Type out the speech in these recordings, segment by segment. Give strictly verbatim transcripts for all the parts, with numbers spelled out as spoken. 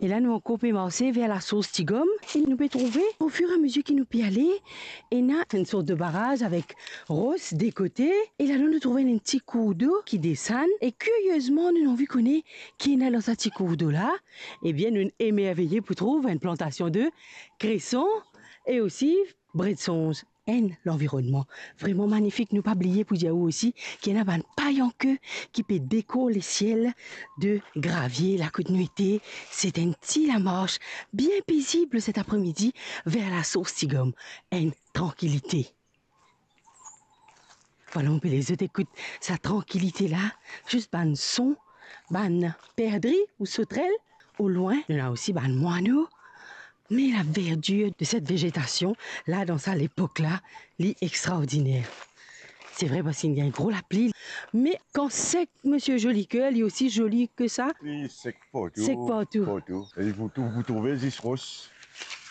La nou ankor pe marse ver lasors Tigom e nou pe trouve, ofiramezie ki nou pe ale, ena enn sort de baraz avek ros de kote, e ladan nou trouve enn ti kourdo ki desann, e kiriezman, nou anvi kone ki ena dan sa ti kourdo la. Ebien, nou emerveye pou trouv enn plantasion de kreson e osi bred sonz, enn lanvironnman vreman manifik. Nou pa bliye pou dir ou osi ki ena bann payanke ki pe dekor lesiel de gravie la kot nou ete. Se enn ti lamars bien pezib set apremidi ver lasors Tigom. Enn trankilite. Vwala, mo pe les zot ekout sa trankilite la, zis bann son, bann perdri ou sotrel. Olwin, nou ena osi bann mwano. Me laverdir de set vezetasion la, dan sa lepok la, li extraordiner. Se vre, parski inn gagn gro lapli, me kan sek, misie zoli ker, li osi zoli ki sa. Li sek partou. Sek partou. Partou. E pou tou, pou trouve zis ros.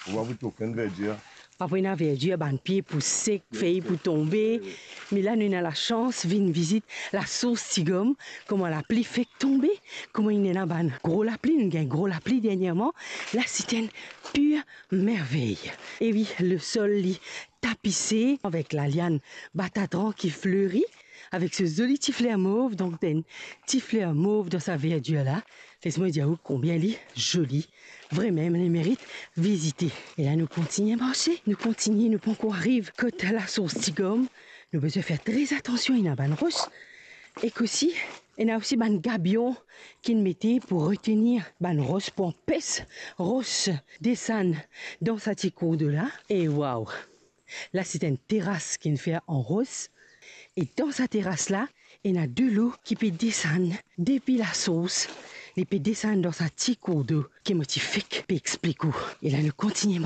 Pou pa pou trouv okenn verdir. Pa pou ena verdir, bann pie pou sek, fey pou tonbe. Wi, wi. Me la, nou ena lasans vinn vizit lasors Tigom, kouma lapli fek tonbe, kouma inn ena bann gro lapli, nou gagn gro lapli dernierman. La, se enn pir mervey. E wi, lesol, li tapise avek laliann batatran ki fleri, avek so zoli ti fler mov, donk enn ti fler mov dan sa verdir la. Les mwa dir ou konbien li zoli. Vremem, li merit vizite. E la, nou kontigne marse, nou kontigne, nou pankor ariv kot lasors Tigom. Nou bizin fer tre atansion, ena bann ros. Ek osi, ena osi bann gabion ki'nn mete pou retenir bann ros, pou anpes ros desann dan sa ti kourdo la. E waw! La, se enn teras ki'nn fer an ros. E dan sa teras la, ena delo ki pe desann depi lasors. Li pe desann dan sa ti kourdo ki mo ti fek pe explik ou. E la, nou kontigne